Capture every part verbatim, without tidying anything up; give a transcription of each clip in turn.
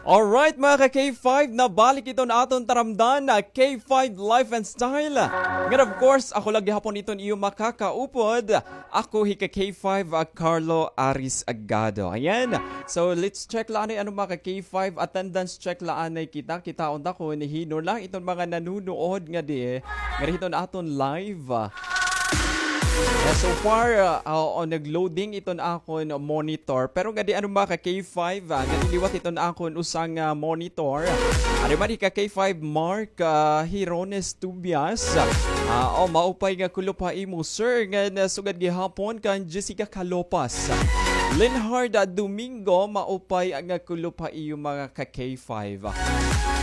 Alright, mga ka K five, nabalik iton aton taramdan na K five Life and Style. Ngan, of course, ako la gihapon iton iyo makakaupod. Ako hi ka K five, ah, Carlo Aris Agado. Ayan. So, let's check la anay, ano, mga ka K five, attendance check la anay kita. Kitaon ta kon hin-o la iton mga nanunood ngadi, ngadi hiton aton live. Yeah, so far, ah, ah, oo, nag-loading iton akon monitor. Pero ngadi, ano, mga ka K five, ah, ngadi liwat iton akon usa nga monitor. Ano man hi ka K five Mark, ah, Hirones Tubias. Ah, oh, maupay nga kulop ha imo, sir. Ngan, ah, sugad gihapon kan Jessica Calopas. Linhard, ah, Domingo, maupay nga kulop ha iyo, mga ka K five.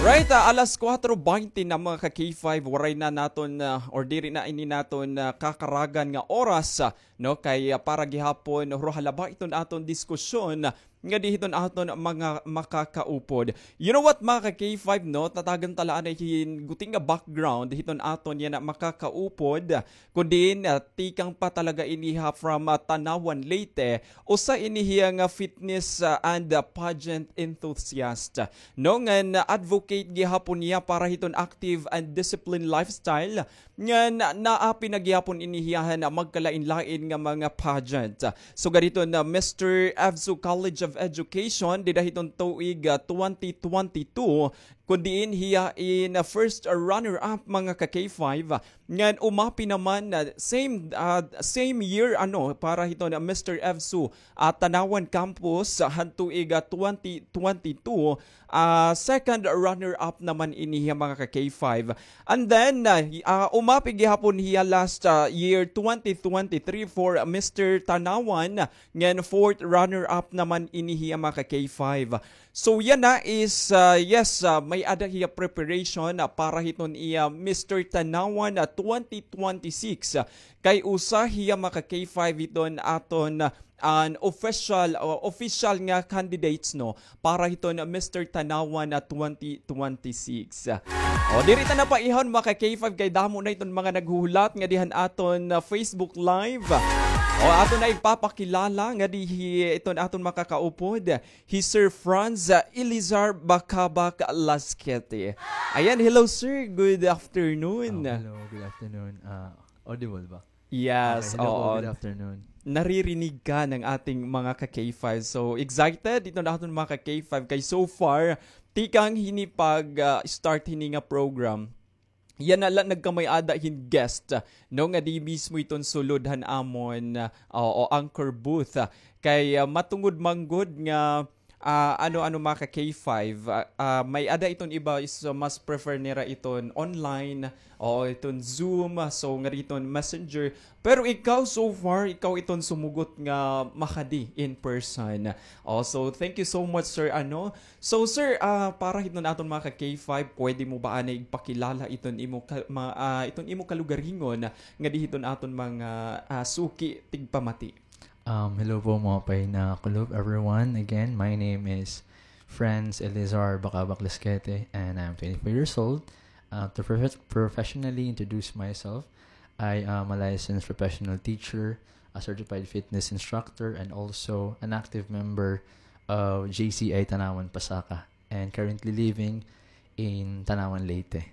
Right, ah, alas kuwatro baynte na, mga ka K five, waray na naton, ah, or diri na ini naton, ah, kakaragan nga oras, ah, no, kay, ah, para gihapon, huro halaba iton aton diskusyon, ah, ngadi hiton aton mga makakaupod. You know what, mga ka K five, no? Tatagan ta la anay hin guti nga background hiton aton yana makakaupod. Kun diin, ah, tikang pa talaga ini ha from, ah, Tanauan, Leyte. Usa ini hiya nga fitness, ah, and, ah, pageant enthusiast. No, ngan, ah, advocate gihapon niya para hiton active and disciplined lifestyle. Ngan, ah, naapi na gihapon ini hiya han, ah, magkalain-lain nga mga pageant. Sugad hiton, ah, Mister Evsu College of Education, dida hiton tuig, ah, twenty twenty-two, kun diin hiya in, ah, first runner-up, mga ka K five. Ngan umapi naman, ah, same, ah, same year, ano, para hiton, ah, Mister Evsu, ah, Tanauan Campus, ah, han tuig, ah, twenty twenty-two, ah, second runner-up naman ini hiya, mga ka K five. And then, ah, hi-, ah, umapi gihapon hiya last, ah, year twenty twenty-three for Mister Tanauan, ngan fourth runner-up naman ini hiya, mga ka K five. So, yana is, ah, yes, ah, may-ada hiya preparation, ah, para hiton iya Mister Tanauan, ah, twenty twenty-six. Kay usa hiya, mga ka K five, hiton aton, ah, an official, o official nga candidates, no, para hiton Mister Tanauan, ah, twenty twenty-six. O, diri ta na paihon, mga ka K five, kay damo na iton mga naghuhulat ngadi han aton, ah, Facebook Live. O, aton na igpapakilala ngadi hi-, iton aton makakaupod. Hi Sir Franz, ah, Elizar Bakabak Lasquete. Ayan, hello, sir. Good afternoon. Ah, hello, good afternoon. Ah, audible ba? Yes, okay, hello po, oo. Good afternoon. Naririnig ka ng ating mga ka K five. So, excited iton aton mga ka K five kay so far, tikang hini pag, ah, start hini nga program, yana la nagkamay-ada hin guest, no, ngadi mismo iton sulod han amon, ah, o, o anchor booth, ah, kay, ah, matungod man gud nga, ah, ano, ano, mga ka K five, ah, ah, may-ada iton iba is, ah, mas prefer nira iton online, o iton Zoom, ah, so ngadi iton Messenger. Pero ikaw, so far, ikaw iton sumugot nga makadi in person. O, so thank you so much, sir, ano, So, sir, ah, para hiton aton mga ka K five, pwede mo ba anay igpakilala iton imo ka-, ma-, ah, iton imo kalugaringon ngadi hiton aton mga, ah, suki tigpamati? Um, hello po, maupay nga kulop, everyone. Again, my name is Franz Elizar Bacabak Lesquete, and I'm twenty-four years old. Uh, to profe-, professionally introduce myself, I am a licensed professional teacher, a certified fitness instructor, and also an active member of J C I Tanauan Pasaka, and currently living in Tanauan, Leyte.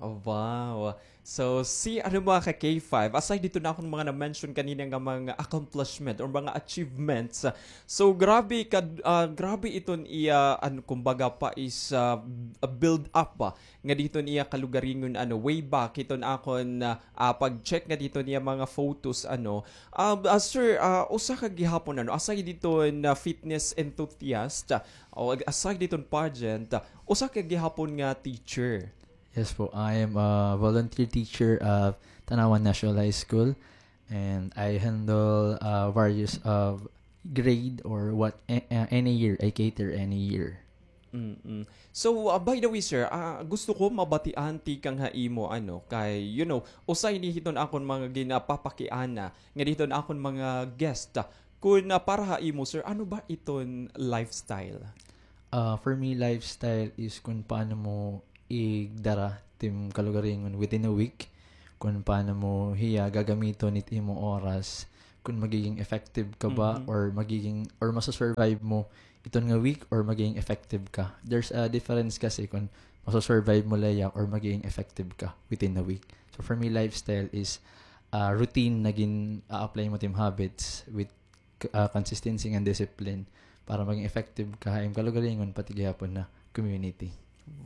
Oh, wow. So, si, ano, mga ka K five, aside dito na akong mga na-mention kanina nga mga accomplishment or mga achievements, so, grabe ka, ah, grabe iton iya, ano, kumbaga pa is, ah, build up ba? Nga dito niya kalugaringon, ano, way back, hiton akon, ah, ah, pag-check nga dito niya mga photos, ano. Ah, ah, sir, ah, usa ka gihapon, ano, aside dito na fitness enthusiast, ah, o ag-, aside dito pageant, ah, usa ka gihapon nga teacher. Yes po, I am a volunteer teacher of Tanauan National High School, and I handle, uh, various of grade or what, a-, a-, any year, I cater any year. Mm-mm. So, ah, by the way, sir, ah, gusto ko mabatian tikang ha imo, ano, kay, you know, usa ini hiton akon mga ginapapakiana, nga diton akon mga guest, ah, kun, ah, para ha imo, sir, ano ba iton lifestyle? Ah, for me, lifestyle is kun paano mo igdara tim kalugaringon within a week, kun paano mo hiya gagamiton it imo oras, kun magiging effective ka ba, mhm, or magiging, or masasurvive mo iton nga week or magiging effective ka. There's a difference kasi kung maso-survive mo la iya or magiging effective ka within a week. So for me, lifestyle is, ah, routine na gin-a-apply mo it im habits with, ah, consistency and discipline para maging effective ka ha im kalugaringon pati gihapon ha community.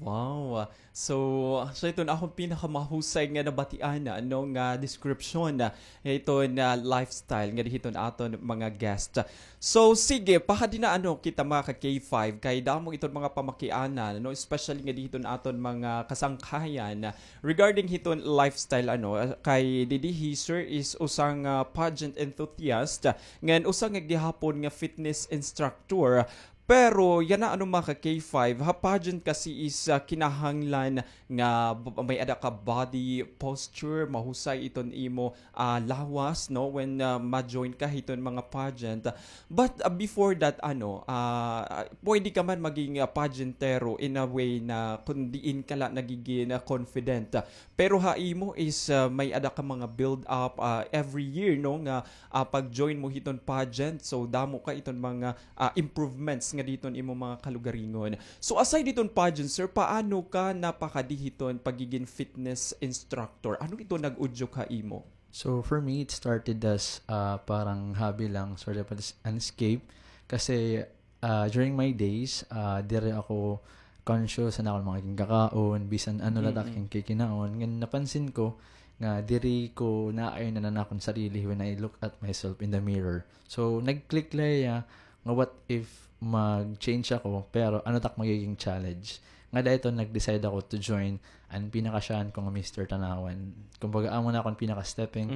Wow. So, so iton akon pinakamahusay nga nabatian, ano, nga description, ah, iton lifestyle nga dihiton aton mga guest. So, sige, pakadi na, ano, kita mga ka K five, kay damo iton mga pamakianan, ano, especially nga dihiton aton mga kasangkayan, ah, regarding hiton lifestyle, ano, ah, kay didi hi sir is usa nga pageant enthusiast, ah, ngan usa nga gihapon nga fitness instructor. Pero yana, ano, mga ka K five, ha pageant kasi is, ah, kinahanglan nga b-, may-ada ka body posture, mahusay iton imo, ah, lawas, no, when, ah, ma-join ka hiton mga pageant. But, ah, before that, ano, ah, ah, pwede ka man maging, ah, pageantero in a way na kun diin ka la nagigin, ah, confident. Pero ha imo is, ah, may-ada ka mga build up, ah, every year, no, nga, ah, pag-join mo hiton pageant. So, damo ka iton mga, ah, improvements nga diton imo mga kalugaringon. So, aside diton pageant, sir, paano ka napakadi hiton pagigin fitness instructor? Ano ito nag-udyok ha imo? So, for me, it started as, ah, parang hobby lang, sort of an es-, an escape. Kasi, ah, during my days, ah, diri ako conscious han akon mga ginkakaon, bisan ano la it akon kikinaon. Ngan napansin ko nga diri ko naayunan an akon sarili when I look at myself in the mirror. So, nag-click la iya nga what if mag-change ako, pero ano it ak magiging challenge? Ngada iton nag-decide ako to join an pinakasyahan ko nga Mister Tanauan. Kumbaga, amo na akon pinaka-stepping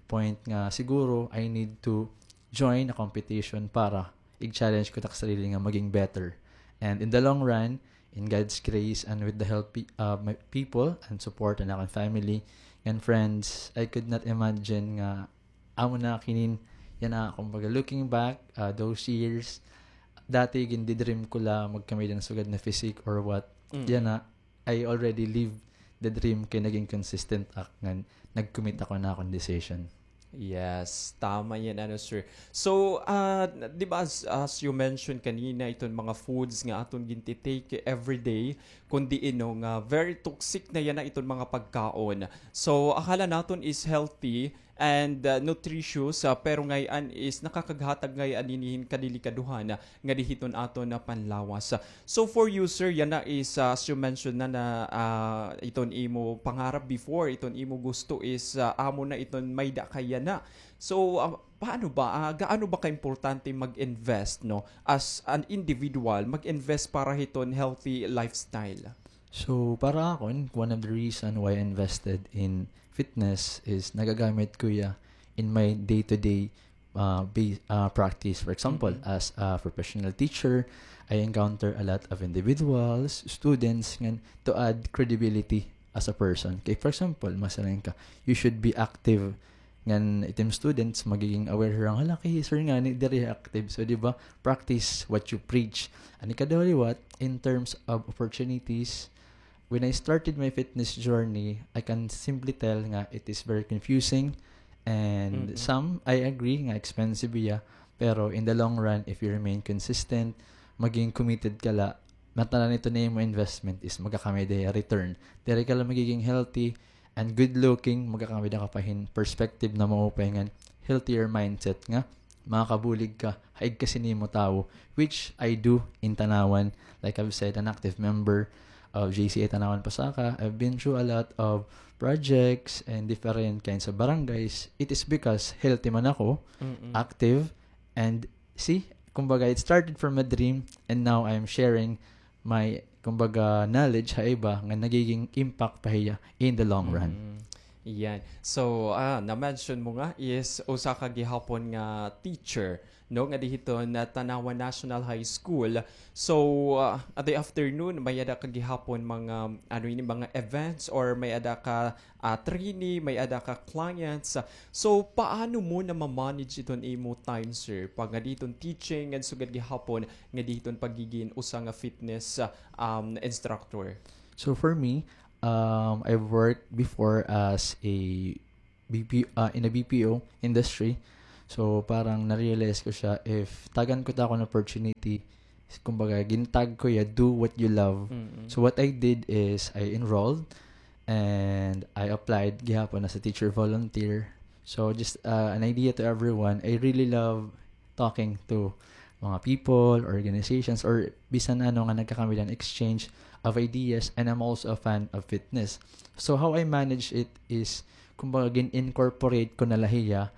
point nga siguro I need to join a competition para ig-challenge ko it ak sarili nga maging better. And in the long run, in God's grace and with the help pe-, uh, my people and support and akon family and friends, I could not imagine nga amo na kinin, yana, kumbaga, looking back, uh, those years, dati gindi-dream ko la magkamay-ada hin sugad na physique or what. Yana, I already live the dream kay naging consistent ak ngan nag-commit ako han akon decision. Yes, tama yan, ano, sir. So, ah, di ba, as, as you mentioned kanina, iton mga foods nga aton ginti-take every day, kundi ino nga very toxic na yana iton mga pagkaon. So, akala naton is healthy, and, ah, nutritious, ah, pero ngay-an is nakakaghatag ngay-an hini hin kadelikadohan, ah, nga dihiton aton nga panlawas. So for you, sir, yana is, ah, as you mentioned na, na, ah, iton imo pangarap before, iton imo gusto is, ah, amo na iton may-ada ka yana. So, ah, paano ba, ah, gaano ba kaimportante mag-invest, no, as an individual, mag-invest para hiton healthy lifestyle? So, para akon, one of the reason why I invested in fitness is nagagamit ko iya in my day-to-day, ah, ba-, ah, practice. For example, as a professional teacher, I encounter a lot of individuals, students, ngan to add credibility as a person. Kay, for example, masiring ka, you should be active. Ngan it im students, magiging aware hira nga, "Hala, kay sir ngani, diri active." So, di ba, practice what you preach. An ikaduha liwat, in terms of opportunities, when I started my fitness journey, I can simply tell nga it is very confusing and some, I agree nga expensive iya, pero in the long run, if you remain consistent, maging committed ka la, ngatanan iton imo investment is magkakamay-ada hiya return. Diri ka la magiging healthy and good looking, magkakamay-ada ka pa hin perspective na maupay ngan healthier mindset nga makakabulig ka ha igkasi nimo tawo, which I do in Tanauan. Like I've said, an active member of J C A Tanauan Pasakah. I've been through a lot of projects and different kinds of barangays. It is because healthy man ako, active, and see, kumbaga, it started from a dream, and now I'm sharing my, kumbaga, knowledge ha iba nga nagiging impact pa hiya in the long run. Yan. So, ah, na-mention mo nga is usa ka gihapon nga teacher, no, nga dihiton Tanauan National High School. So, ah, at the afternoon, may-ada ka gihapon mga, ano ini, mga events or may-ada ka ah, trainee, may-ada ka clients. So, paano mo nama-manage iton imo time, sir? Pag nga diton teaching, ngan sugad gihapon nga diton pagigin usa nga fitness, ah, um, instructor. So, for me, um, I've worked before as a B P, ah, in a B P O industry. So, parang na-realize ko siya, if tagan ko ta akon opportunity, Kumbaga, gintag ko iya, "Do what you love." So what I did is I enrolled and I applied gihapon as a teacher volunteer. So just, uh, an idea to everyone, I really love talking to mga people, organizations, or bisan ano nga nagkakamilan, exchange of ideas, and I'm also a fan of fitness. So how I manage it is, kumbaga, gin-incorporate ko na la hiya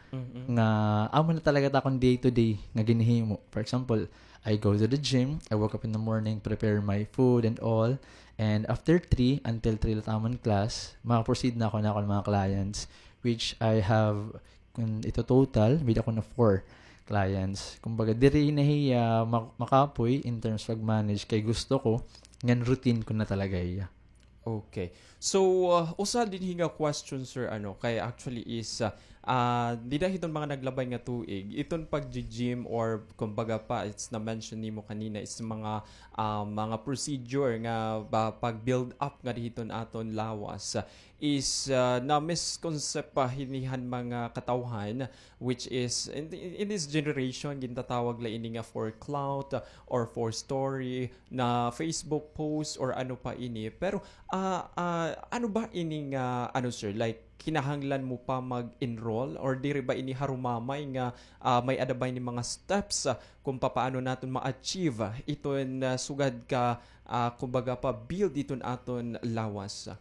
nga amo na talaga ta akon day-to-day nga ginhimo. For example, I go to the gym, I woke up in the morning, prepare my food and all, and after three, until three la it amon class, maka-proceed na ako na akon mga clients, which I have, kun ito total, may-ada ko na four clients. Kumbaga, diri na hiya mak-, makapoy in terms pag-manage kay gusto ko, ngan routine ko na talaga hiya. Okay. So, uh, usa dinhi nga question, sir, ano, kay actually is, uh, uh, dida hiton mga naglabay nga tuig, iton pag-gym or kumbaga pa, it's na-mention nimo kanina, is mga, uh, mga procedure nga ba, pag-build up nga dihiton aton lawas, uh, is, uh, na-misconcept pa hinihan mga katawhan, which is in, in, in this generation, gintatawag la ini nga for clout, uh, or for story, na Facebook post or ano pa ini. Pero, ah, ah, ano ba ini nga, ano, sir, like, kinahanglan mo pa mag-enroll or diri ba ini harumamay nga, ah, may-ada ba ini mga steps, ah, kung papaano naton ma-achieve iton, ah, sugad ka, ah, kumbaga pa, build iton aton lawas?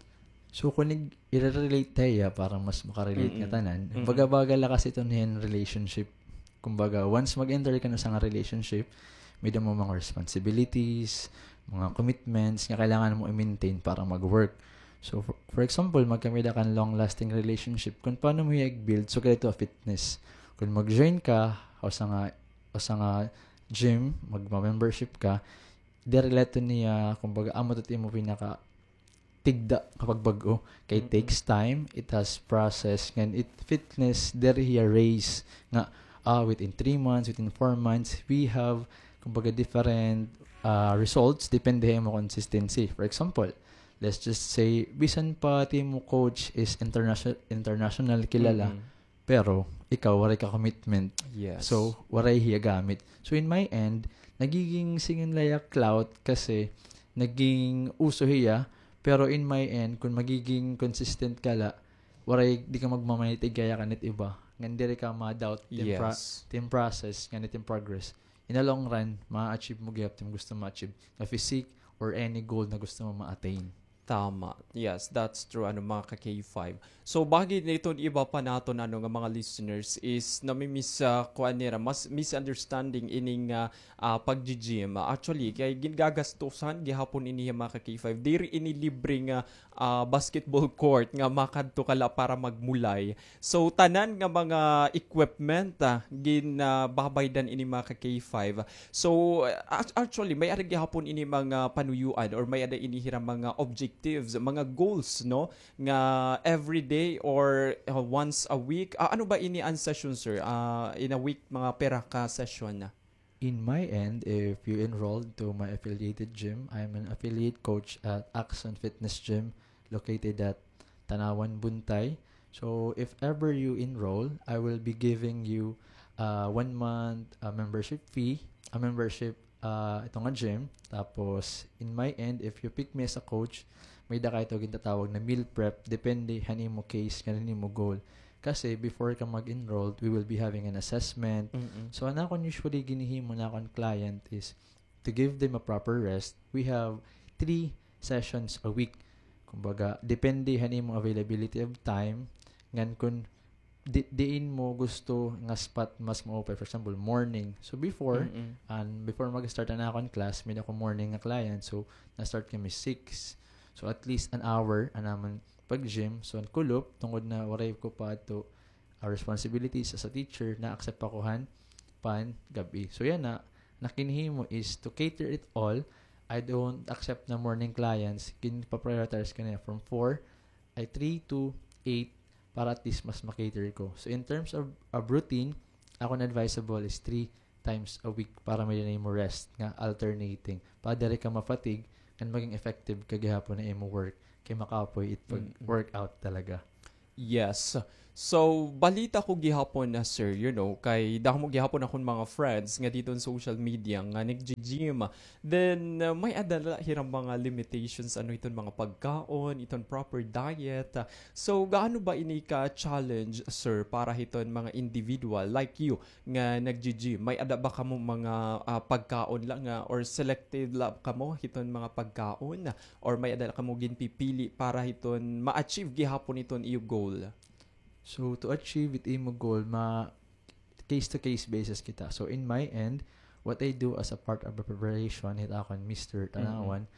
So, kun ig-, i-relate ta hiya para mas makarelate nga tanan. Baga-baga la kasi iton hin relationship. Kumbaga, once mag-enter ka na sa nga relationship, may-ada mo mga responsibilities, mga commitments nga kailangan mo i-maintain para mag-work. So, for, for example, magkamay-ada kan long-lasting relationship, kun paano mo hiya i-build, so, kadto ha fitness. Kun mag-join ka, o sa nga, o sa nga gym, magma-membership ka, diri la iton hiya, kumbaga, amo iton imo pinaka tigda kapag bag-o. Kay it takes time, it has process, ngan it fitness, diri hiya race nga, ah, within three months, within four months, we have, kumbaga, different, ah, results, depende ha imo consistency. For example, let's just say, bisan pa it imo coach is international, international kilala, pero ikaw, waray ka commitment. Yes. So, waray hiya gamit. So, in my end, nagiging, siring la hiya, clout kasi naging uso hiya, pero in my end, kun magiging consistent ka la, waray, di ka magmamanitig kaya kan it iba. Ngan diri ka ma-doubt it im pro-, it im process, ngan it im progress. In the long run, ma-achieve mo gihap it im gusto ma-achieve nga physique or any goal na gusto mo ma-attain. Tama. Yes, that's true, ano, mga ka-K five. So, bagi niton iba pa naton, ano, nga mga listeners is nami-mis-, ah, kuan nira, mas misunderstanding ining, ah, ah, pag-gym. Actually, kay gin-, gagastusan gihapon ini, mga ka-K five. Diri ini libre nga, ah, basketball court nga makadto ka la para magmulay. So, tanan nga mga equipment, ah, gin-, ah, babaydan ini, mga ka-K five. So, ah, act-, actually, may-ada gihapon ini mga panuyuan or may-ada ini hira mga objectives, mga goals, no? Nga every day or, ah, once a week. Ah, ano ba ini an session, sir? Ah, in a week, mga pira ka session na? In my end, if you enrolled to my affiliated gym, I'm an affiliate coach at Axon Fitness Gym located at Tanauan, Buntay. So, if ever you enroll, I will be giving you, uh, one month, uh, membership fee, a membership, uh, ito nga gym. Tapos, in my end, if you pick me as a coach, may-ada kay ito gintatawag na meal prep, depende han imo case, ngan han imo goal. Kasi before ka mag-enrolled, we will be having an assessment. So, an akon usually ginhihimo han akon client is to give them a proper rest. We have three sessions a week. Kumbaga, depende han imo availability of time, ngan kun di-, diin mo gusto nga spot mas maupay. For example, morning. So, before, an before mag-start an akon class, may-ada ko morning nga client. So, na-start kami six. So, at least an hour an amon pag-gym. So, an kulop, tungod na waray ko pa adto, ah, responsibilities as a teacher, na-accept ako han pangab-i. So, yana, an ginhihimo is to cater it all. I don't accept na morning clients. Ginpa-prioritize ko na from four, ay, three to eight para at least mas ma-cater ko. So, in terms of, of routine, akon advisable is three times a week para may-ada na imo rest nga alternating. Para diri ka ma-fatigue, ngan maging effective ka gihapon ha imo work kay makapoy it pag-workout talaga. Yes. So, balita ko gihapon na, sir, you know, kay damo gihapon akon mga friends nga didto ha social media nga naggi-gym. Then, uh, may-ada la hira mga limitations ano hiton mga pagkaon, hiton proper diet. So, gaano ba ini ka-challenge, sir, para hiton mga individual like you nga naggi-gym? May-ada ba kamo mga, ah, pagkaon la nga or selective la kamo hiton mga pagkaon? Or may-ada la kamo ginpipili para hiton ma-achieve gihapon hiton iyo goal? So, to achieve it imo goal, ma-, case to case basis kita. So, in my end, what I do as a part of a preparation, hit akon Mister Tanawan,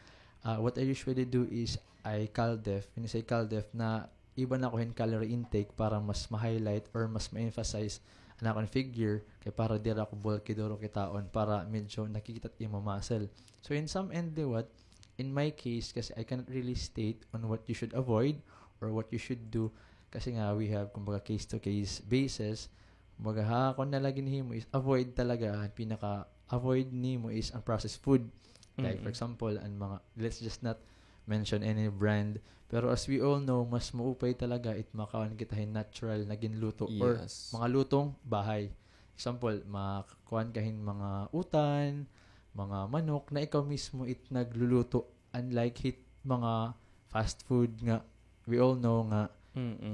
ah, what I usually do is I cal def. When you say cal def, na iba na ko hin calorie intake para mas ma-highlight or mas ma-emphasize an akon figure, kay para diri ako bulky duro kitaon, para medyo nakikita it imo muscle. So, in some end liwat, in my case, kasi I cannot really state on what you should avoid or what you should do, kasi nga we have, kumbaga, case to case basis. Kumbaga, ha, kung nalagi nimo is avoid talaga, an pinaka-avoid nimo is an processed food. Like, for example, an mga, let's just not mention any brand. Pero as we all know, mas maupay talaga it makaon kita hin natural na ginluto or mga lutong bahay. Example, makakuan ka hin mga utan, mga manok na ikaw mismo it nagluluto. Unlike hit mga fast food nga we all know nga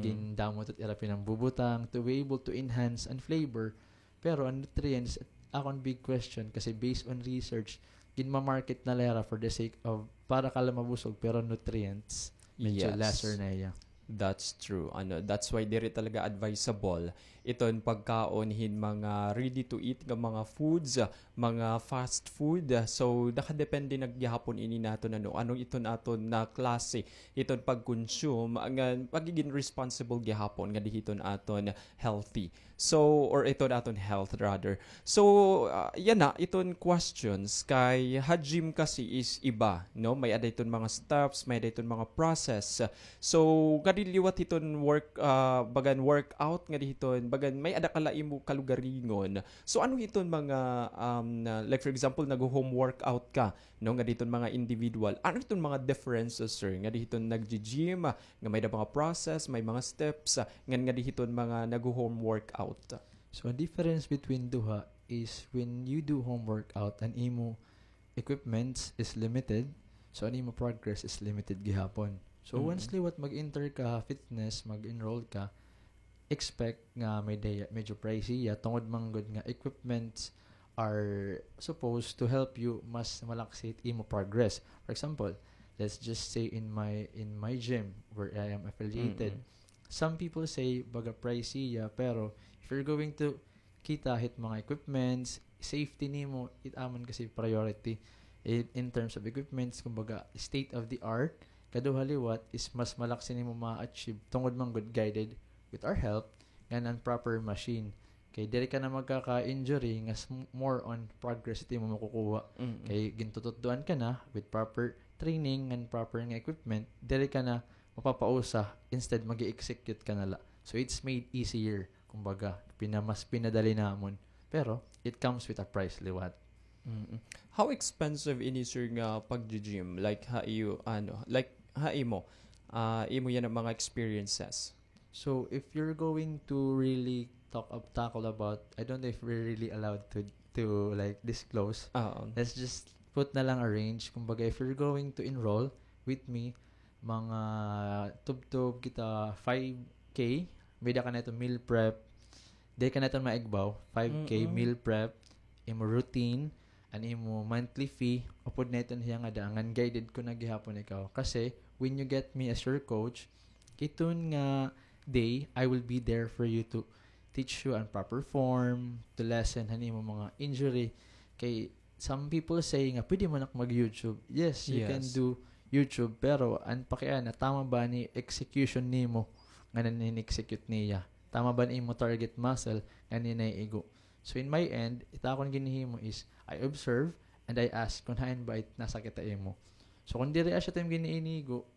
gindamot it ira pinangbubutang to be able to enhance an flavor. Pero an nutrients, akon big question, kasi based on research, ginma-market na la hira for the sake of para ka la mabusog, pero nutrients, medyo lesser na hiya. That's true. Ano, that's why diri talaga advisable iton pagkaon hin mga ready to eat nga mga foods, mga fast food. So, nakadepende na gihapon ini naton, ano, ano iton aton na klase iton pag-consume nga magigin responsible gihapon nga diri hiton aton healthy. So, or iton aton health rather. So, ah, yana, iton questions kay ha gym kasi is iba, no? May-ada iton mga steps, may-ada iton mga process. So, ngadi liwat hiton work, ah, bagan workout, ngadi hiton, bagan may-ada ka la imo kalugaringon. So, ano hiton mga, um, na, like for example, nag-home workout ka, no, ngadi hiton mga individual. Ano hiton mga differences, sir, ngadi hiton naggi-gym, ah, nga may-ada mga process, may mga steps, ah, ngan ngadi hiton mga nag-home workout? So, an difference between duha is when you do home workout, an imo equipments is limited, so an imo progress is limited gihapon. So, once liwat mag-enter ka ha fitness, mag-enroll ka, expect nga may day-, medyo pricey hiya, tungod man gud nga equipments are supposed to help you mas malaksi it imo progress. For example, let's just say in my, in my gym where I am affiliated, some people say baga pricey hiya, pero if you're going to kita hit mga equipments, safety nimo, it amo man kasi priority. In, in terms of equipments, kumbaga, state of the art, kaduha liwat is mas malaksi nimo ma-achieve tungod man gud guided with our help, ngan an proper machine. Kay diri ka na magkaka-injury, nga s-, more on progress it imo makukuha. Kay gintututdoan ka na with proper training ngan proper nga equipment, diri ka na mapapausa, instead mag-execute ka na la. So, it's made easier. Kumbaga, pina-, mas pinadali namon. Pero, it comes with a price liwat. Mm-mm. How expensive ini, sir, nga pag-gym? Like, ha iyo, ano, like, ha imo, ah, imo yana mga experiences? So, if you're going to really talk ab-, tackle about, I don't know if we're really allowed to, to, like, disclose. Oo. Let's just put na lang a range. Kumbaga, if you're going to enroll with me, mga tubtob kita five K, may-ada ka na iton meal prep, diri ka na iton maigbaw, five K meal prep, imo routine, an imo monthly fee, upod na iton hiya nga daan, ngan guided ko na gihapon ikaw. Kasi, when you get me as your coach, iton nga day, I will be there for you to teach you an proper form, to lessen han imo mga injury. Kay, some people say nga, "Pwede man ako mag-YouTube." Yes, you can do YouTube, pero an pakiana, tama ba ni execution nimo nga nanin-execute niya? Tama ba ni imo target muscle nga ninaigo? So, in my end, it akon ginhihimo is, I observe and I ask kung hain ba it nasakit ha imo. So, kung diri asya it im giniinigo,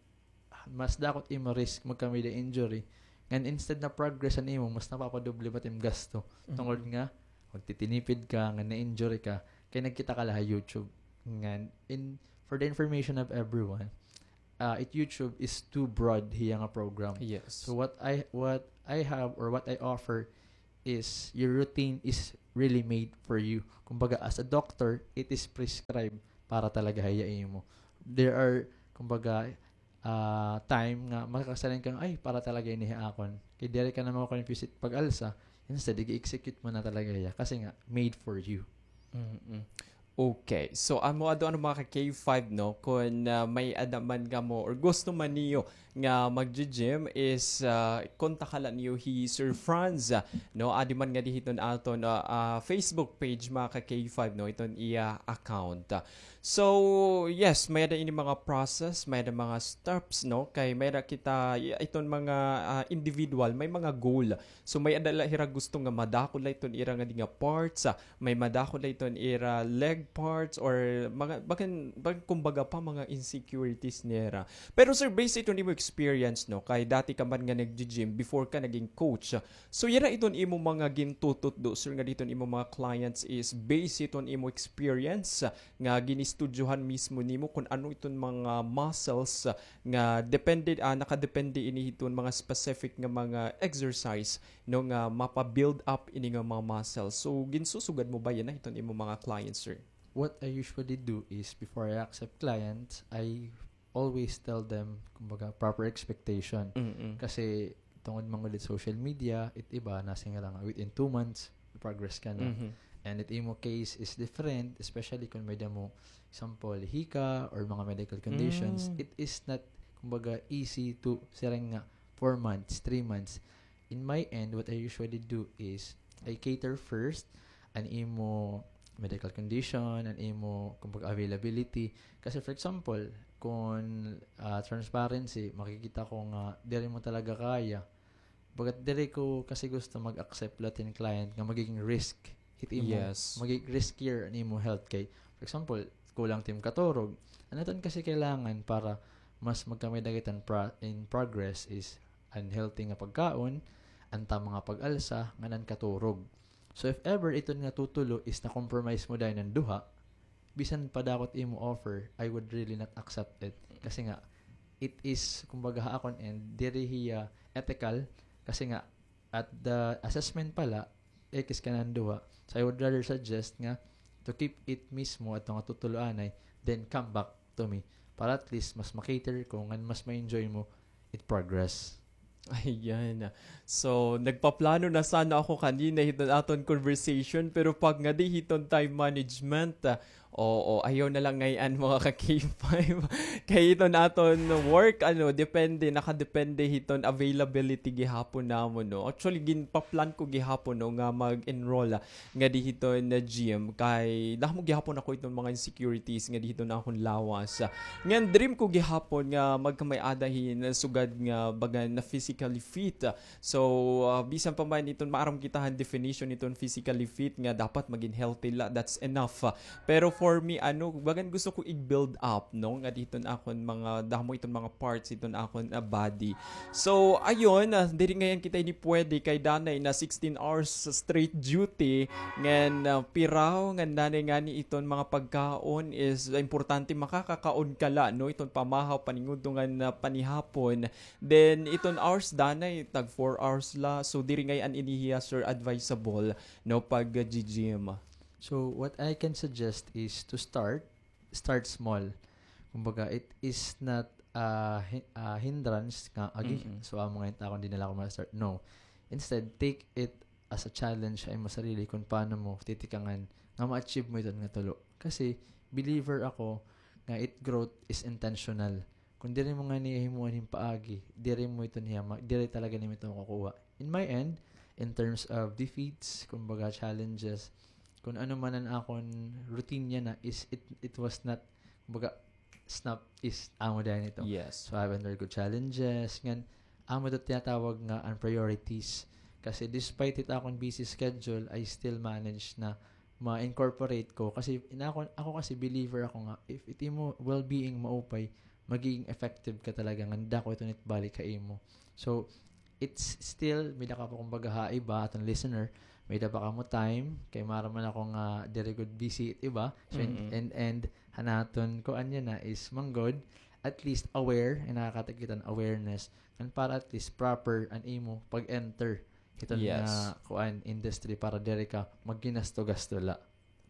mas dako it imo risk magkamay-ada injury. Ngan instead na progress an imo, mas napapadoble pa it im gasto. Tungod nga, magtitinipid ka, ngan na-injury ka, kay nagkita ka la ha YouTube. Ngan, in, for the information of everyone, uh, it YouTube is too broad hiya nga program. Yes. So what I what I have or what I offer is your routine is really made for you. Kumbaga, as a doctor, it is prescribed para talaga hiya imo. There are, kumbaga, ah, time nga makakasalan ka nga, "Ay, para talaga ini ha akon." Kay diri ka na mako-confuse it pag-alsa, instead, i-execute mo na talaga hiya kasi nga made for you. Mm-mm. Okay. So, amo adto, ano, mga ka K five, no? Kung, ah, may-ada man kamo or gusto man niyo nga mag-gym is, ah, kontakan la niyo hi Sir Franz, ah, no? Adi man ngadi hiton aton, ah, ah, Facebook page, mga ka K five, no? Iton iya account. So, yes, may-ada ini mga process, may-ada mga steps, no? Kay may-ada kita, i-, iton mga, ah, individual, may mga goal. So, may-ada la hira gusto nga madako la iton ira ngadi nga parts, ah, may madako la iton ira leg parts or mga, bagan, bag-, kumbaga pa, mga insecurities nira. Pero, sir, based iton imo experience, no, kay dati ka man nga nag-gym before ka naging coach. So, yara iton imo mga gintututdo, sir, ngadi hiton imo mga clients is based iton imo experience, ah, nga ginistudyohan mismo nimo kun ano iton mga muscles, ah, nga depende, ah, nakadepende ini hiton mga specific nga mga exercise, no, nga mapa-build up ini nga mga muscles. So, ginsusugad mo ba yana hiton imo mga clients, sir? What I usually do is, before I accept clients, I always tell them, kumbaga, proper expectation. Mm-mm. Kasi, tungod man gud it social media, it iba, nasiring nga within two months, progress ka na. Mhm. And it imo case is different, especially kung may-ada mo, example, hika or mga medical conditions. Mm. It is not, kumbaga, easy to siring nga four months, three months. In my end, what I usually do is, I cater first an imo medical condition, an imo, kumbaga, availability. Kasi, for example, kung, ah, transparency, makikita ko nga diri mo talaga kaya. Bagat diri ko kasi gusto mag-accept la hin client nga magiging risk it imo, Yes. magiging riskier an imo health kay, for example, kulang it im katurog. An aton kasi kailangan para mas magkamay-ada kita in pro-, in progress is an healthy nga pagkaon, an tama nga pag-alsa, ngan an katurog. So if ever iton nga tutulo is na-compromise mo dayon an duha, bisan pa dako it imo offer, I would really not accept it. Kasi nga, it is, kumbaga, ha akon end, diri hiya ethical. Kasi nga, at the assessment pa la, X ka na an duha. So, I would rather suggest nga to keep it mismo ato nga tutulo anay, then come back to me. Para at least, mas ma-cater ko, ngan mas ma-enjoy mo it progress. Ayan. So, nagpaplano na sana ako kanina hiton aton conversation, pero pag ngadi hiton time management, ah, oo, ayaw na la ngay-an, mga ka K five. Kay iton aton work, ano, depende, nakadepende hiton availability gihapon namon, no? Actually, ginpa-plan ko gihapon, no, nga mag-enroll, ah, ngadi hiton gym. Kay damo gihapon ako iton mga insecurities ngadi hiton akon lawas. Ngan dream ko gihapon nga magkamay-ada hin sugad nga bagan na physically fit. So, ah, bisan pa man iton maaram kita han definition iton physically fit nga dapat magin healthy la, that's enough. Pero for me, ano, bagan gusto ko i-build up, no, ngadi hiton akon mga damo iton mga parts iton akon, ah, body. So, ayun, ah, diri ngay-an kita ini pwede kay danay na sixteen hours straight duty, ngan, ah, piraw ngan danay ngani iton mga pagkaon is importante makakakaon ka la, no, iton pamahaw, paningudto ngan, ah, panihapon. Then, iton hours danay, tag four hours la. So, diri ngay-an ini hiya, sir, advisable, no, pag, ah, gym. So, what I can suggest is to start, start small. Kumbaga, it is not a hi-, a hindrance nga, "Agi, Mm-mm. so amo ngay-an it akon, di na la ako ma-start." No. Instead, take it as a challenge ha imo sarili kung paano mo titikangan nga ma-achieve mo iton nga tulo. Kasi, believer ako nga it growth is intentional. Kung diri mo ngani himuon hin paagi, diri mo iton hiya ma-, diri talaga nimo ito makukuha. In my end, in terms of defeats, kumbaga challenges, kung ano man an akon routine yana is it, it was not, kumbaga, snap is amo dayon ito. Yes. So, I have undergone challenges, ngan amo ito tinatawag nga an priorities. Kasi despite it akon busy schedule, I still manage na ma-incorporate ko. Kasi in ako, ako kasi believer ako nga, if it imo well-being maupay, magiging effective ka talaga, ngan dako iton itbalik ha imo. So, it's still, may-ada ka pa, kumbaga, ha iba, aton listener, may-ada pa kamo time, kay maaram man ako nga diri gud busy it iba. So, in, Mm-mm. in end, han aton kuan yana is manggod, at least aware, and nakakatag kita hin awareness, and para at least proper an imo pag-enter hiton Yes. nga kuan industry para diri ka magginasto-gasto la.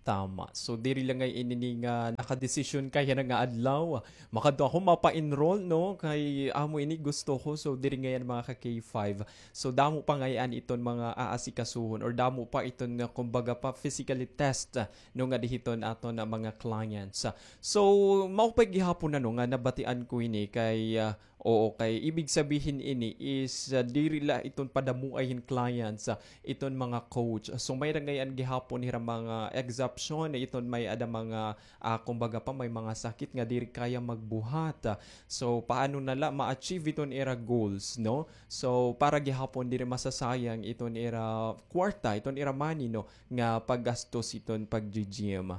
Tama. So, diri la ngay ini nga nakadesisyon ka yana nga adlaw. Makadto ako mapa-enroll, no? Kay amo ini gusto ko. So, diri ngay-an mga ka K five. So, damo pa ngay-an iton mga aasikasuhon or damo pa iton nga, kumbaga pa, physically test, no, ngadi hiton aton mga clients. So, mao pa gihapon, ano, nga nabatian ko ini kay, ah, Oo, kay ibig sabihin ini is, ah, diri la iton padamoay hin clients, ah, iton mga coach. So, may ra ngay-an gihapon hira mga exception, iton may-ada mga, ah, kumbaga pa, may mga sakit nga diri kaya magbuhat. Ah, so, paano na la ma-achieve iton ira goals, no? So, para gihapon diri masasayang iton ira kwarta, iton ira money, no, nga paggastos iton pag-gym.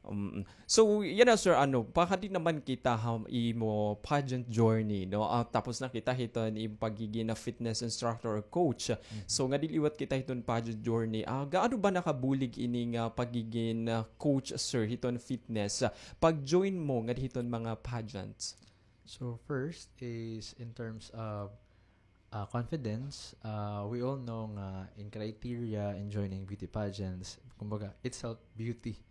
Mm. So, yana, sir, ano, pakadi naman kita ha imo pageant journey, no? Ah, tapos na kita hiton imo pagiging na fitness instructor or coach. Mhm. So, ngadi liwat kita hiton pageant journey. Ah, gaano ba nakabulig ini nga pagiging, ah, coach, sir, hiton fitness? Ah, pag-join mo ngadi hiton mga pageants? So, first is in terms of ah, confidence, ah, we all know nga in criteria in joining beauty pageants, kumbaga, it's self-beauty.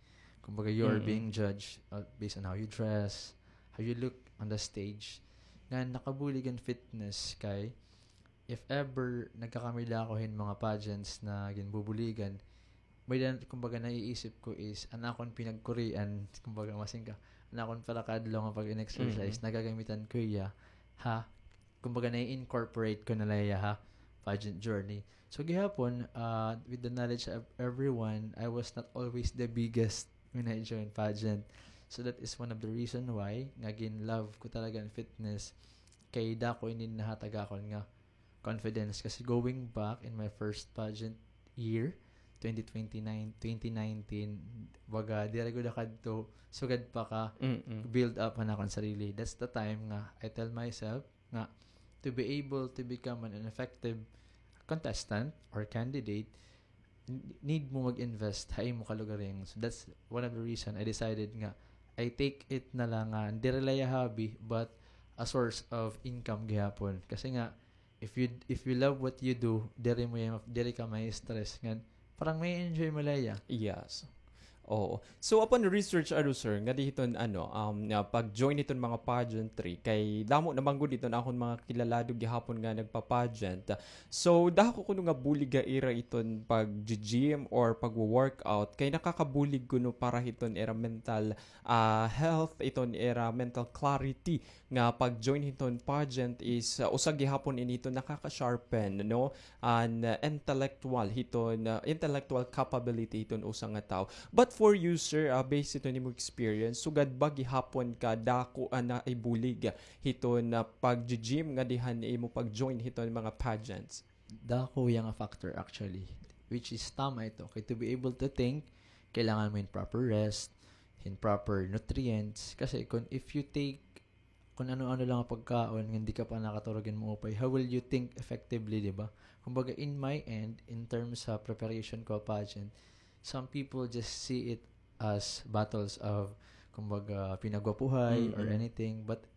Kumbaga, you're Mm-mm. being judged, uh, based on how you dress, how you look on the stage. Nga nakabulig an fitness kay, if ever nagkakamay la ako hin mga pageants na ginbubuligan, may dan-, kumbaga, naiisip ko is, an akon pinagkurian, kumbaga, masing ka, an akon pira ka adlaw nga pag-in-exercise, Mm-mm. nagagamitan ko hiya, ha, kumbaga, nai-incorporate ko na la hiya ha pageant journey. So, gihapon, uh, with the knowledge of everyone, I was not always the biggest when I joined pageant. So, that is one of the reason why nga gin-love ko talaga an fitness. Kay dako ini nahatag akon nga confidence. Kasi going back in my first pageant year, twenty twenty-nine, twenty nineteen, baga, diri gud kadto, sugad pa ka Mm-mm. build up an akon sarili. That's the time nga I tell myself, nga to be able to become an, an effective contestant or candidate, n-, need mo mag-invest ha imo kalugaringon. So that's one of the reason I decided nga I take it na la nga diri la hiya hobby, but a source of income gihapon. Kasi nga, if you, if you love what you do, diri mo hiya, diri ka ma-stress. Ngan, parang ma-enjoy mo la hiya. Yes. Oo. So, upon research, ano, sir, ngadi hiton, ano, um, nga pag-join hiton mga pageantry, kay damo naman gud hiton akon mga kilalado gihapon nga nagpa-pageant. So, dako kuno nga bulig ha ira iton pag-gym or pag-workout, kay nakakabulig kuno para hiton ira mental, ah, health, iton ira mental clarity, nga pag-join hiton pageant is, uh, usa gihapon ini hiton nakaka-sharpen, no, an, uh, intellectual hiton, uh, intellectual capability hiton usa nga tawo. But for you, sir, uh, based hiton imo experience, sugad ba gihapon ka dako an naibulig hiton, uh, pag-gym ngadi han imo pag-join hiton mga pageants? Dako hiya nga factor actually, which is tama ito. Kay to be able to think, kailangan mo hin proper rest, hin proper nutrients. Kasi kung if you take kung ano-ano lang nga pagkaon, nga di ka pa nakaturog hin maupay, how will you think effectively, di ba? Kumbaga, in my end, in terms sa preparation ko pageant, some people just see it as battles of, kumbaga, pinagwapuhay or Mm-mm. anything. But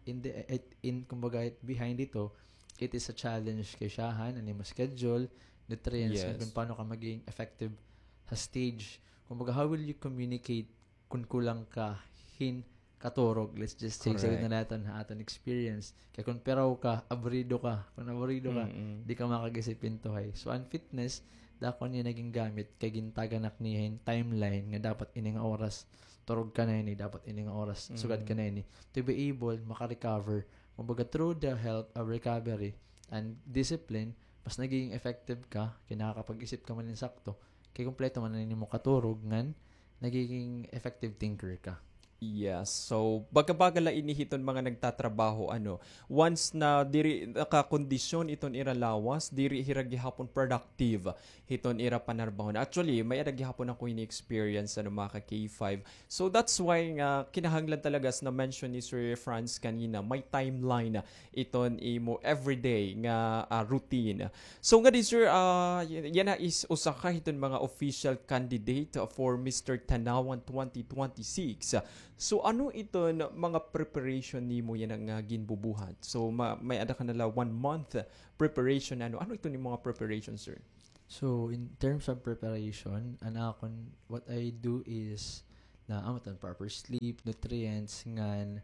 in the, it, in, kumbaga, it, behind ito, it is a challenge kay syahan, an imo schedule, nutrients, Yes. and kung paano ka maging effective sa stage. Kumbaga, how will you communicate kun kulang ka hin katurog, let's just say, Correct. Sagot na naton ha aton experience. Kay kun piraw ka, abrido ka. Kun abrido ka, Mm-mm. di ka makag-isip hin tuhay. So, an fitness, dako niya naging gamit, kay gintaganak niya hin timeline nga dapat ini nga oras, turog ka na ini, dapat ini nga oras, sugad ka Mm. na ini. To be able, maka-recover. Kumbaga, through the health of recovery and discipline, mas nagiging effective ka, kay nakakapag-isip ka man hin sakto, kay kumpleto man an imo katurog, ngan nagiging effective thinker ka. Yes. So, baga-baga la ini hiton mga nagtatrabaho, ano, once na diri nakakondisyon iton ira lawas, diri hira gihapon productive hiton ira panarbaho. Actually, may-ada gihapon ako ini experience, ano, mga ka K five. So, that's why nga kinahanglan talaga, as na-mention ni Sir Franz kanina, may timeline iton imo everyday nga, ah, routine. So, ngadi, sir, ah, y-, yana is usa ka hiton mga official candidate for Mister Tanauan twenty twenty-six. So, ano iton mga preparation nimo yana nga ginbubuhat? So, ma-, may-ada ka na la one month preparation, ano? Ano iton mga preparation, sir? So, in terms of preparation, an akon, what I do is na, amo iton, proper sleep, nutrients, ngan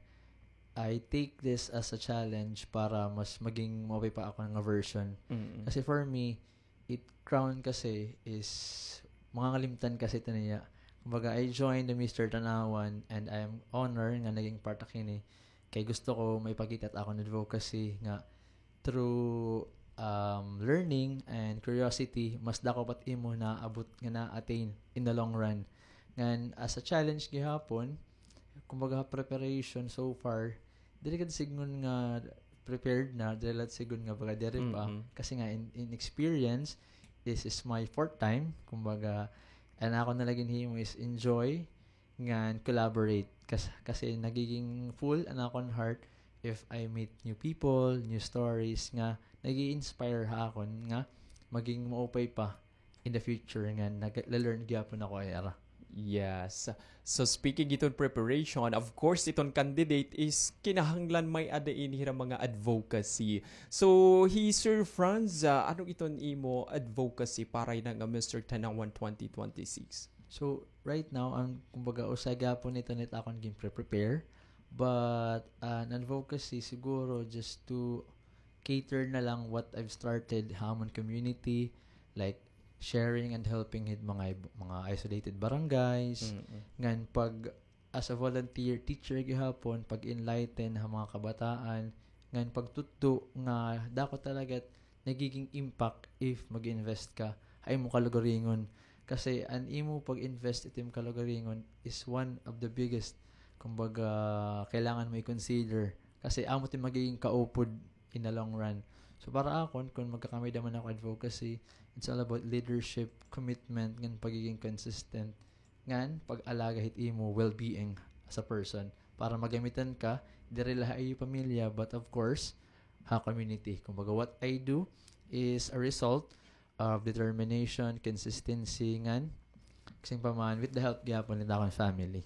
I take this as a challenge para mas maging maupay pa akon nga version. Mm. Kasi for me, it crown kasi is, mangangalimtan kasi ito niya. Kumbaga, I joined the Mister Tanauan and I am honored nga naging part ako hini. Kay gusto ko maipakita it akon advocacy nga through, um, learning and curiosity, mas dako pa it imo naabot nga na-attain in the long run. Ngan, as a challenge gihapon, kumbaga, preparation so far, diri gad sidngon nga prepared na, diri la sidngon nga baga diri pa. Mm-mm. Kasi nga, in, in experience, this is my fourth time. Kumbaga, an akon na la ginhimo is enjoy, ngan collaborate. Kas-, kasi nagiging full an akon heart if I meet new people, new stories nga nag-i-inspire ha akon nga maging maupay pa in the future nga nag-, nagla-learn gihapon ako hira. Yes. So, speaking iton preparation, of course, iton candidate is kinahanglan may-ada ini hira mga advocacy. So, hi Sir Franz, ah, ano iton imo advocacy para yana nga Mister Tanauan twenty twenty-six? So, right now, an, kumbaga, usa gihapon ito it akon ginpre-prepare. But, ah, an advocacy siguro just to cater na lang what I've started ha amon community, like sharing and helping hit mga ib-, mga isolated barangays. Mm-mm. Ngan pag, as a volunteer teacher gihapon, pag-enlighten ha mga kabataan, ngan pagtutdo nga dako talaga nagiging impact if mag-invest ka ha imo kalugaringon. Kasi an imo pag-invest it imo kalugaringon is one of the biggest, kumbaga, kailangan mo i-consider. Kasi amo it magiging kaupod in the long run. So, para akon, kung magkakamay-ada man ako advocacy, it's all about leadership, commitment, ngan pagiging consistent, ngan pag-alaga hit imo well-being as a person. Para magamitan ka, diri la ha iyo pamilya, but of course, ha community. Kumbaga, what I do is a result of determination, consistency, ngan, kasing pa man, with the help gihapon hit akon family.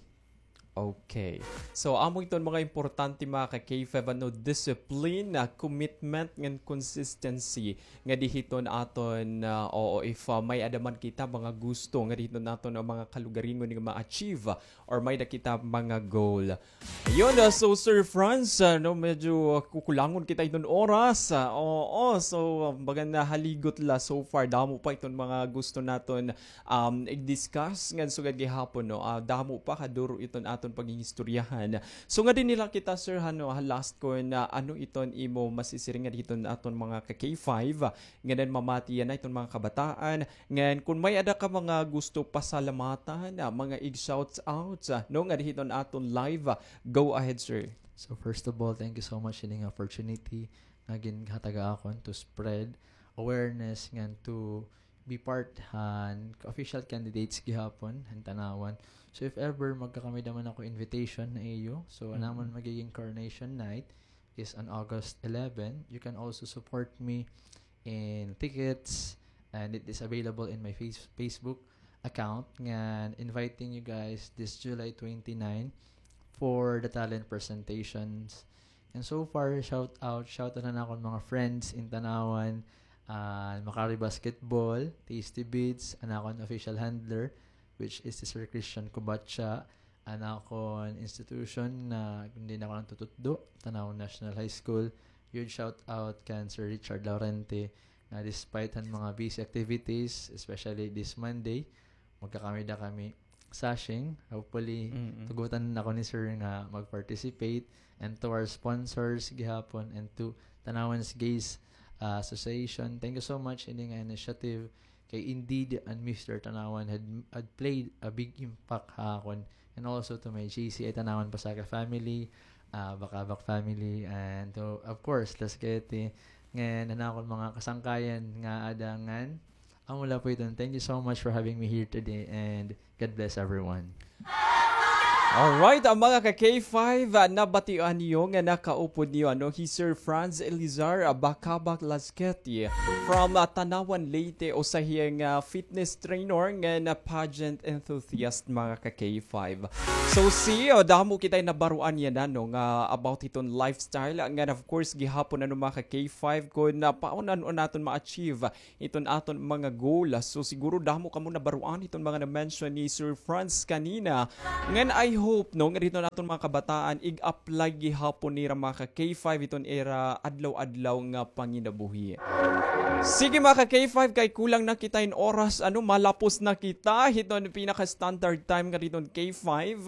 Okay. So, amo iton mga importante, mga ka-K five, ano, discipline, ah, commitment, ngan consistency. Nga diri hiton aton, ah, oo, if, ah, may-ada man kita mga gusto, nga diri hiton aton, ah, mga kalugaringon nga ma-achieve, ah, or may-ada kita mga goal. Ayun, ah, so Sir Franz, ah, no, medyo, ah, kukulangon kita hiton oras. Ah, oo, so, ah, baga nahaligot la so far. Damo pa iton mga gusto naton um, i-discuss ngan sugad gihapon, no? Ah, damo pa kaduro iton aton paghingistoryahan. So, nga dinhi la kita, sir, ha, no, ha last ko na, ano iton imo masisiring nga diri hiton aton mga ka-K five, ah, ngan mamati yana iton mga kabataan, ngan kun may-ada ka mga gusto pasalamatan, ah, mga ig-shouts out, ah, no, nga diri hiton aton live, ah, go ahead, sir. So, first of all, thank you so much hini nga opportunity nga ginhatag ha akon to spread awareness ngan to be part han official candidates gihapon han Tanauan. So if ever magkakamay-ada man ako invitation ha iyo, so an amon magiging coronation night is on August eleven. You can also support me in tickets, and it is available in my face-, Facebook account. Ngan inviting you guys this July twenty-nine for the talent presentations. And so far, shout out, shout out na akon mga friends in Tanauan, ah, Makari Basketball, Tasty Beats, an akon official handler, which is si Sir Christian Cubacha, an akon institution na kun diin ako nagtututdo, Tanauan National High School. Huge shout out kan Sir Richard Laurente, nga despite han mga busy activities, especially this Monday, magkakamay-ada kami sashing. Hopefully, tugotan ako ni Sir nga mag-participate. And to our sponsors gihapon and to Tanauan's Gays, ah, Association, thank you so much ini nga initiative. Kay indeed, an Mister Tanauan had, had played a big impact ha akon. And also to my J C I Tanauan Pasaka family, ah, Bakabak family, and to, of course, Las Quete. Ngan an akon mga kasangkayan nga ada ngan amo la po iton. Thank you so much for having me here today, and God bless everyone. Alright, ah, mga ka K five, ah, nabatian niyo nga nakaupod niyo, ano, hi Sir Franz Elizar, ah, Bacabak Lasqueti from, ah, Tanauan, Leyte, usa hiya nga fitness trainer ngan pageant enthusiast, mga ka K five. So, si, oh, damo kitay nabaruan niya na, no, nga about hiton lifestyle, ngan of course, gihapon, ano, mga ka K five, kun, ah, paano, ano, naton ma-achieve iton aton mga goal. So, siguro damo kamo nabaruan iton mga na-mention ni Sir Franz kanina. Ngan I hope, no, nga didto naton mga kabataan, ig-apply gihapon nira mga ka K five iton ira adlaw-adlaw nga panginabuhi. Sige, mga ka K five, kay kulang na kita in oras, ano, malapos na kita hiton pinaka-standard time nga didto K five.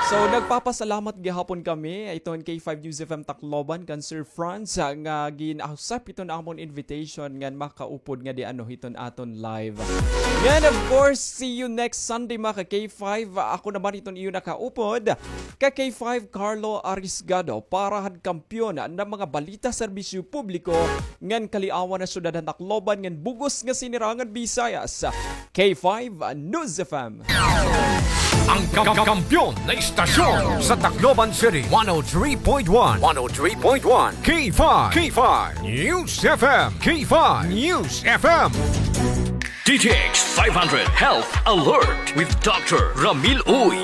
So, nagpapasalamat gihapon kami iton K five News F M Tacloban kan Sir Franz, ah, nga gin-accept iton amon invitation ngan makaupod ngadi, ano, hiton aton live. Ngan, of course, see you next Sunday, mga ka K five. Ako naman iton iyo nakaupod, ka K five Carlo Arisgado, para han kampiyon han mga balita, serbisyo publiko ngan kaliawan han syudad han Tacloban ngan bug-os nga sinirangan Bisayas. K five News F M. Ang ka-, kampiyon na istasyon sa Tacloban City, one oh three point one, one oh three point one, K five, K five News F M, K five News F M. D T X five hundred Health Alert with Doctor Ramil Uy.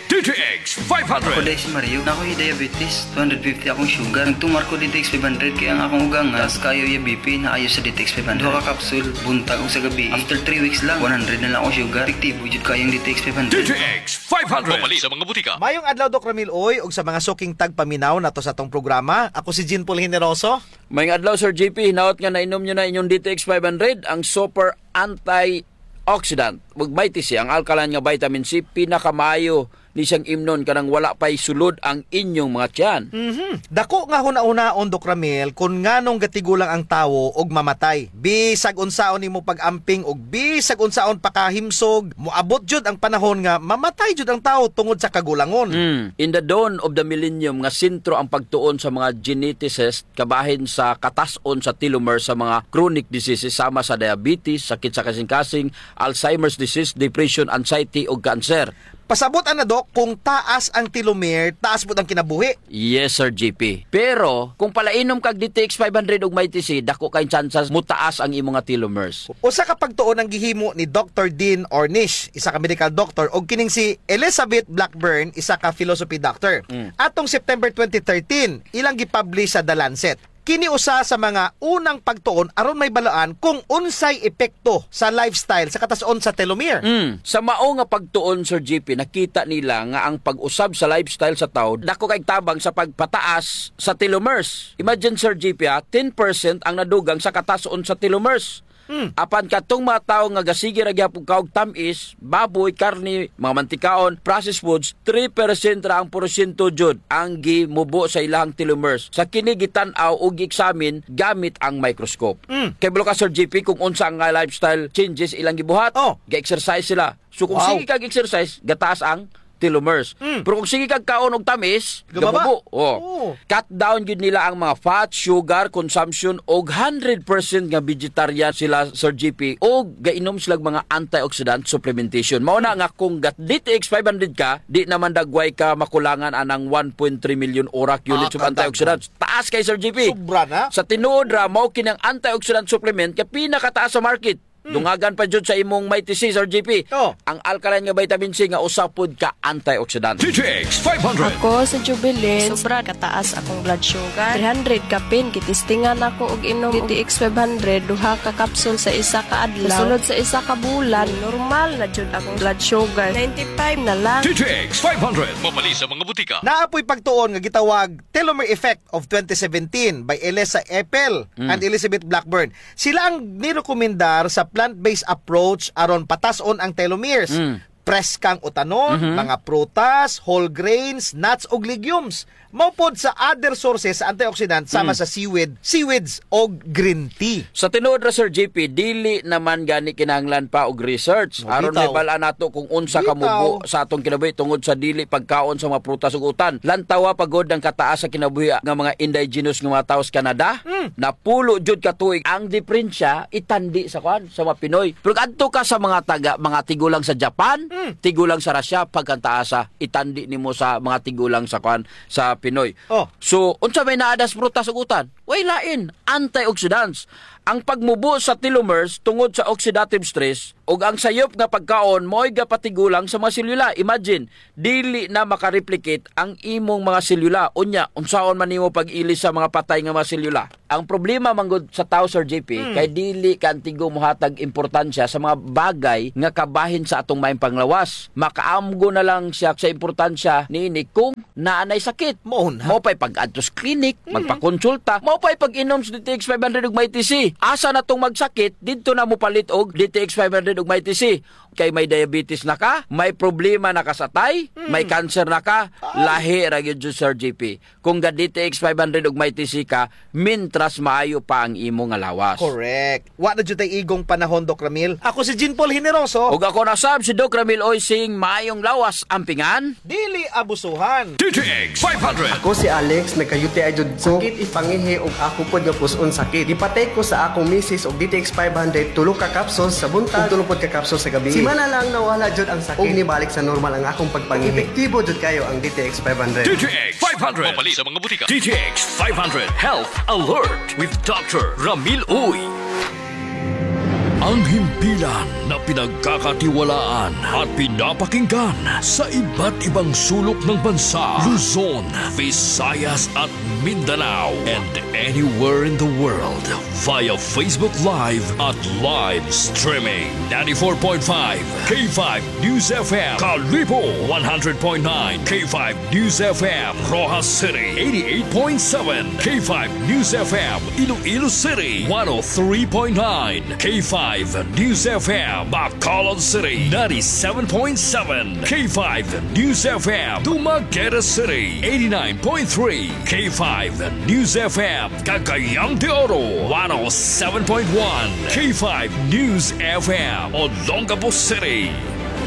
D T X five hundred. Ako, Dai si Mario. Ako hi diabetes, two hundred fifty akong sugar. Nagtumar ko D T X five hundred kay ang akong ugang nga taas kaayo iya B P, naayo sa D T X five hundred. Duha ka kapsul, buntag ug sa gabii. After three weeks lang, one hundred na lang akong sugar. Epektibo jud kaayo ang D T X five hundred. D T X five hundred. Mapalit sa mga butika. Mayong adlaw, Doc Ramil Uy, ug sa mga suking tagpaminaw nato sa atong programa. Ako si Jean Paul Generoso. Mayong adlaw, Sir J P. Hinaot nga nainom niyo na inyong D T X five hundred, ang super antioxidant. Ug Mighty C, ang alkaline nga vitamin C, pinakamaayo ni siyang imnon kanang wala pa'y sulod ang inyong mga tiyan. Mhm. Dako nga hunahunaon, Doc Ramil, kun nganong gatigulang ang tawo og mamatay. Bisag unsaon nimo pag-amping ug bisag unsaon pakahimsog, moabot jud ang panahon nga mamatay jud ang tawo tungod sa kagulangon. Mm. In the dawn of the millennium, nga sentro ang pagtuon sa mga geneticist kabahin sa katas-on sa telomere sa mga chronic diseases sama sa diabetes, sakit sa kasingkasing, Alzheimer's disease, depression, anxiety, ug cancer. Pasabot ana, Doc, kung taas ang telomere, taas pud ang kinabuhi. Yes, Sir J P. Pero kung palainom kag D T X five hundred ug Mighty C, dako kay tsansas mutaas ang imo nga telomeres. Usa ka pagtuon ang gihimo ni Doctor Dean Ornish, isa ka medical doctor, ug kining si Elizabeth Blackburn, isa ka philosophy doctor. Mm. Atong September twenty thirteen, ilang gipublish sa The Lancet. Kini usa sa mga unang pagtuon aron mahibaluan kung unsay epekto sa lifestyle sa katas-on sa telomere. Mm. Sa mao nga pagtuon, Sir J P, nakita nila nga ang pag-usab sa lifestyle sa tawo dako kay tabang sa pagpataas sa telomeres. Imagine, Sir J P, ha, ten percent ang nadugang sa katas-on sa telomeres. Hmm. Apan katong mga tawo nga gasige ra gihapon kaog tam-is, baboy, karne, mga mantikaon, processed foods, three percent ra ang porsyento jud ang gimubo sa ilahang telomeres. Sa kini gitan-aw o gi-examine gamit ang microscope. Hmm. Kay balo ka, Sir J P, kung unsa nga lifestyle changes ilang gibuhat, oh, ga-exercise sila. So, kung, wow, sige kag exercise, gataas ang telomeres. Mm. Pero kung sige kag kaon og tamis, gababa. Gamubo. Oh. Oo. Cut down gyud nila ang mga fat, sugar consumption, og hundred percent nga vegetarian sila, Sir J P, og gainom sila mga antioxidant supplementation. Mao na nga kung gat D T X five hundred ka, di naman dagway ka makulangan anang one point three million orak units of antioxidants. Ah, taas kay, Sir J P. Sobra na. Sa tinuod ra, mao kini ang antioxidant supplement kay pinakataas sa market. Hmm. Dungagan pa jud sa imong Mighty C, Sir J P. Oh. Ang alkaline nga vitamin C nga usa pod ka antioxidant. D T X five hundred. Ako si Jubilin. Sobra kataas akong blood sugar. Three hundred kapin, gitistingan ako og inom D T X five hundred, duha ka kapsul sa isa ka adlaw. Sulod sa isa ka bulan, normal na jud akong blood sugar. Ninety-five na lang. D T X five hundred. Mapalit sa mga butika. Naa poy pagtuon nga gitawag telomere effect of twenty seventeen by Elisa Epel, mm, and Elizabeth Blackburn. Sila ang nirekomendar sa plant-based approach aron patas-on ang telomeres. Mm. Preskang utanon, mhm, mga prutas, whole grains, nuts, ug legumes. Mao pod sa other sources sa antioxidant sama, mm, sa seaweed, seaweeds, og green tea. Sa tinuod ra, Sir J P, dili naman gani kinahanglan pa og research. No, aron bitaw. Mabal-an nato kung unsa, bitaw, kamubo sa atong kinabuhi tungod sa dili pagkaon sa mga prutas ug utan. Lantawa pa gud ang kataas sa kinabuhi nga mga indigenous nga mga tawo sa Canada. Mm. Napulo jud ka tuig. Ang diperensya, itandi sa kuan, sa mga Pinoy. Pero adto ka sa mga taga, mga tigulang sa Japan, Hmm. Tigulang sa Russia, pagkantaasa, itandi nimo sa mga tigulang sa kuan, sa Pinoy. Oh. So, unsa may naadas prutas ug utan? Way lain, antioxidants. Ang pagmubo sa telomeres tungod sa oxidative stress ug ang sayop nga pagkaon mao'y gapatigulang sa mga selula. Imagine, dili na makareplicate ang imong mga selula. Unya, unsaon man nimo pag-ilis sa mga patay nga mga selula? Ang problema man gud sa tawo, Sir J P, Hmm. kay dili ka antigo mohatag importansya sa mga bagay nga kabahin sa atong maayong panglawas. Makaamgo na lang siya sa importansya niini kung naa nay sakit. Mao na. Mao pa'y pag-adto sa clinic, Mm. magpakonsulta. Mao pa'y pag-inom sa D T X five hundred ug Mighty C. Asa na tong magsakit, didto na mopalit og D T X five hundred ug Mighty C. Kay may diabetes na ka, may problema na ka sa atay, Mm. may cancer na ka, Ay. lahi ra gyud, Sir J P. Kung ga-D T X five hundred ug Mighty C ka, mintras maayo pa ang imo nga lawas. Correct. Wa na jud tay igong panahon, Doc Ramil. Ako si Jean Paul Generoso. Ug ako na sab si Doc Ramil Oysing, maayong lawas, ampingan. Dili abusuhan. D T X five hundred. Ako si Alex, nagka-U T I jud ko. Sakit ipangihi ug ako pod nga pus-on sakit. Gipatake ko sa akong misis og D T X five hundred, tulo ka capsules sa buntag, ug tulo pod ka capsules sa gabii. Simana lang nawala jud ang sakit. Ug nibalik sa normal ang akong pagpangihi. Epektibo jud kayo ang D T X five hundred. D T X five hundred. Mapalit sa mga butika. D T X five hundred Health Alert with Doctor Ramil Uy. Ang himpilan na pinagkakatiwalaan at pinapakinggan sa iba't ibang sulok ng bansa, Luzon, Visayas at Mindanao, and anywhere in the world via Facebook Live at live streaming. Ninety-four point five K five News F M, Kalibo, one hundred point nine K five News F M, Roxas City, eighty-eight point seven K five News F M, Iloilo City, one oh three point nine K five News F M, Bacolod City, ninety-seven point seven K five News F M, Dumaguete City, eighty-nine point three K five News F M, Cagayan de Oro, one oh seven point one K five News F M, Olongapo City.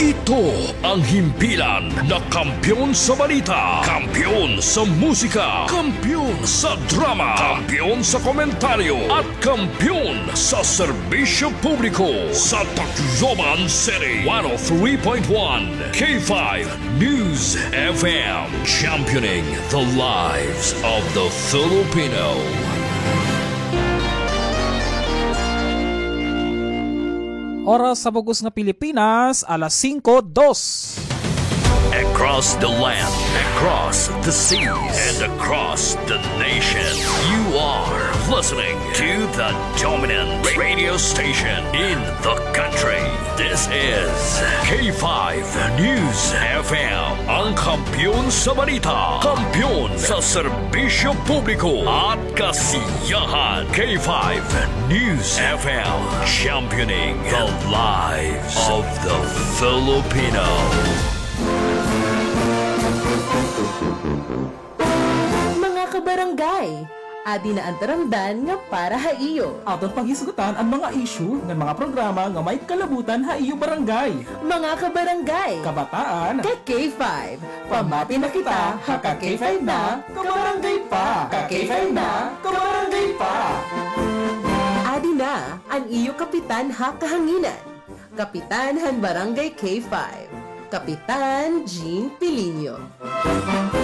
Ito ang himpilan na kampiyon sa balita, kampiyon sa musika, kampiyon sa drama, kampiyon sa komentaryo, at kampiyon sa serbisyo publiko sa Tacloban City, one oh three point one K five News F M, championing the lives of the Filipino. Oras sa bug-os nga Pilipinas, alas singko dos. Across the land, across the seas, and across the nation, you are listening to the dominant radio station in the country. This is K five News F M, ang kampiyon sa balita, kampiyon sa serbisyo publiko at kasiyahan. K five News F M, championing the lives of the Filipino. Mga kabarangay, adi na an taramdan nga para ha iyo. Aton panghisgutan an mga isyu ngan mga programa nga may kalabutan ha iyo barangay. Mga kabarangay, kabataan, ka K five. Pamati na kita ha Ka K five na, Kabarangay pa. Ka K five na, Kabarangay pa. Adi na an iyo kapitan ha kahanginan. Kapitan han Barangay K five, Kapitan Jean Pilinio.